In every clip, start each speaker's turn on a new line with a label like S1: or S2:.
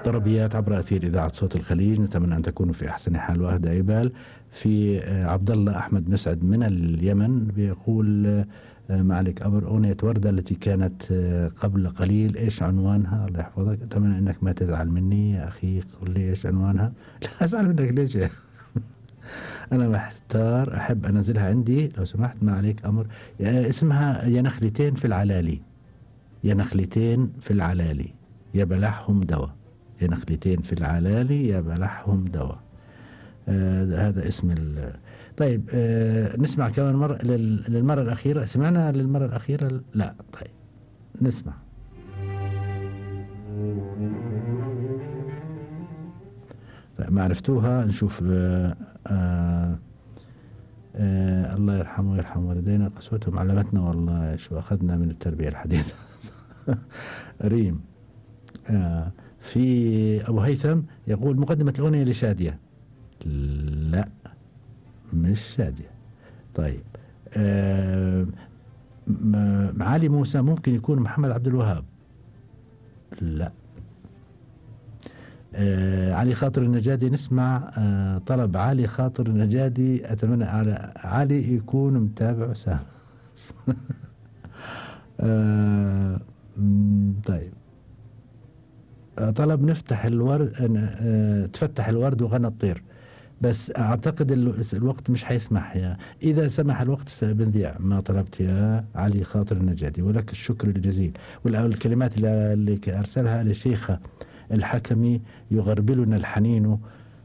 S1: طربيات عبر أثير إذاعة صوت الخليج، نتمنى أن تكونوا في أحسن حال وأهدى عبال. في عبد الله أحمد مسعد من اليمن بيقول معلك أمر أغنية وردة التي كانت قبل قليل، إيش عنوانها؟ الله يحفظك، أتمنى أنك ما تزعل مني يا أخي، قل لي إيش عنوانها. لا أزعل منك ليش؟ أنا محتار، أحب أنزلها عندي لو سمحت، ما عليك أمر. اسمها يا نخلتين في العلالي، يا نخلتين في العلالي يا بلحهم دوا، يا نخلتين في العلالي يا بلحهم دوا. هذا اسم طيب نسمع كمان مرة للمرة الأخيرة. سمعنا للمرة الأخيرة؟ لا. طيب نسمع. ما عرفتوها، نشوف. الله يرحمه ويرحم والدينا، قسوتهم علمتنا والله شو أخذنا من التربية الحديثة. ريم. في أبو هيثم يقول مقدمة الأغنية لشادية. لا مش شادية. طيب علي موسى ممكن يكون محمد عبد الوهاب. لا. علي خاطر النجادي، نسمع طلب علي خاطر النجادي، أتمنى على علي يكون متابع سام. طيب طلب نفتح الورد، تفتح الورد وغنى الطير، بس أعتقد الوقت مش حيسمح. إذا سمح الوقت سبنذيع ما طلبت يا علي خاطر النجادي، ولك الشكر الجزيل. والكلمات اللي أرسلها لشيخة الحكمي، يغربلنا الحنين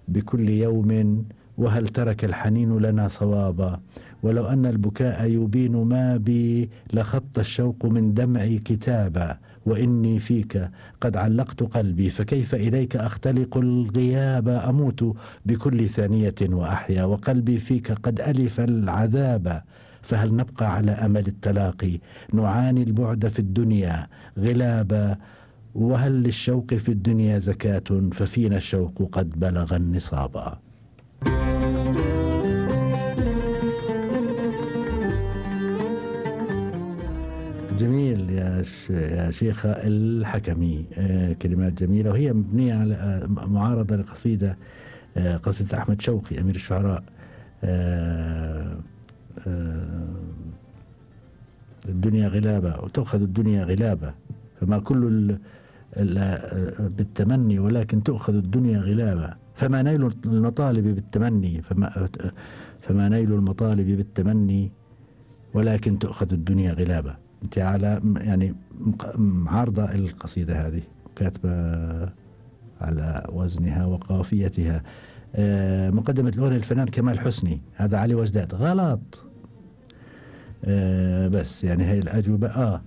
S1: بكل يوم، وهل ترك الحنين لنا صوابا، ولو أن البكاء يبين ما بي لخط الشوق من دمعي كتابا، وإني فيك قد علقت قلبي، فكيف إليك أختلق الغياب، أموت بكل ثانية وأحيا، وقلبي فيك قد ألف العذاب، فهل نبقى على أمل التلاقي، نعاني البعد في الدنيا غلابا، وهل للشوق في الدنيا زكاة، ففينا الشوق قد بلغ النصابا. جميل يا شيخة الحكمي، كلمات جميلة، وهي مبنية على معارضة لقصيدة أحمد شوقي أمير الشعراء. الدنيا غلابة وتأخذ الدنيا غلابة، فما كل بالتمني ولكن تأخذ الدنيا غلابة، فما نيل المطالب بالتمني، فما نيل المطالب بالتمني ولكن تأخذ الدنيا غلابة. انت على يعني معارضة القصيدة هذه، كاتبة على وزنها وقافيتها. مقدمة الأغنية الفنان كمال حسني، هذا علي وجداد. غلط. بس يعني هي الأجوبة.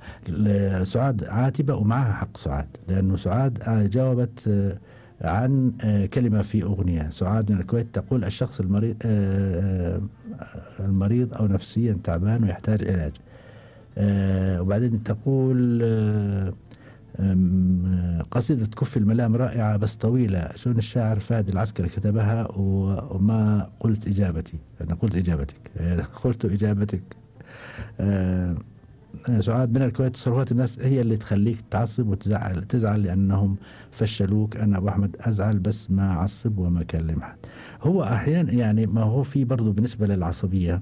S1: سعاد عاتبة، ومعها حق سعاد، لأنه سعاد جاوبت عن كلمة في أغنية. سعاد من الكويت تقول الشخص المريض أو نفسيا تعبان ويحتاج علاج. وبعدين تقول قصيدة كف الملام رائعة بس طويلة، شلون الشاعر فهد العسكري كتبها وما قلت إجابتي. أنا قلت إجابتك، قلت إجابتك. سعاد من الكويت، تصرفات الناس هي اللي تخليك تعصب وتزعل لأنهم فشلوك. أنا أبو أحمد أزعل بس ما أعصب وما أكلم حد. هو أحيانا يعني ما هو في برضو بالنسبة للعصبية،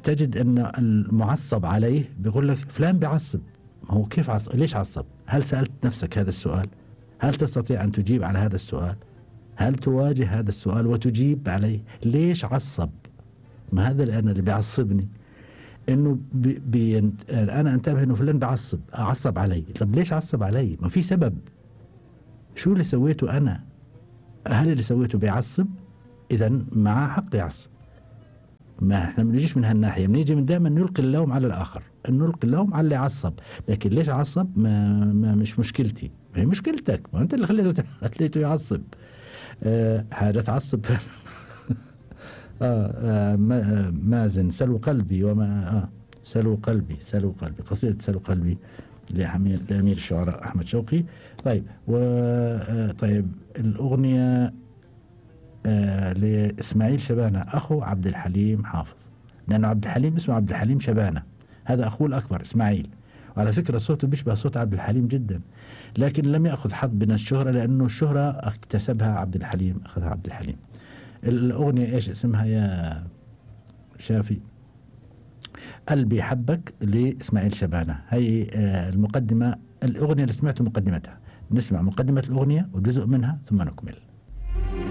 S1: تجد أن المعصب عليه بيقول لك فلان بيعصب. ما هو كيف عصب؟ ليش عصب؟ هل سألت نفسك هذا السؤال؟ هل تستطيع أن تجيب على هذا السؤال؟ هل تواجه هذا السؤال وتجيب عليه؟ ليش عصب؟ ما هذا لأن اللي بيعصبني انه انا انتبه انه فلان بعصب، اعصب علي. طب ليش عصب علي؟ ما في سبب. شو اللي سويته انا؟ هل اللي سويته بيعصب؟ اذا معه حق يعصب. ما احنا بنجيش من هالناحيه، بنيجي من دائما نلقي اللوم على الاخر، نلقي اللوم على اللي عصب. لكن ليش عصب؟ ما مش مشكلتي، ما هي مشكلتك، ما انت اللي خليته يعصب. حاجه تعصب. مازن سلو قلبي وما سلو قلبي قصيدة سلو قلبي لأمير الشعراء أحمد شوقي. طيب طيب الأغنية لإسماعيل شبانة أخو عبد الحليم حافظ، لأنه عبد الحليم اسمه عبد الحليم شبانة، هذا أخوه الأكبر إسماعيل، وعلى فكرة صوته بيشبه صوت عبد الحليم جدا، لكن لم يأخذ حظ من الشهرة لأنه الشهرة اكتسبها عبد الحليم، أخذها عبد الحليم. الأغنية إيش اسمها يا شافي؟ قلبي حبك لإسماعيل شبانة. هي المقدمة، الأغنية اللي سمعته مقدمتها، نسمع مقدمة الأغنية وجزء منها ثم نكمل.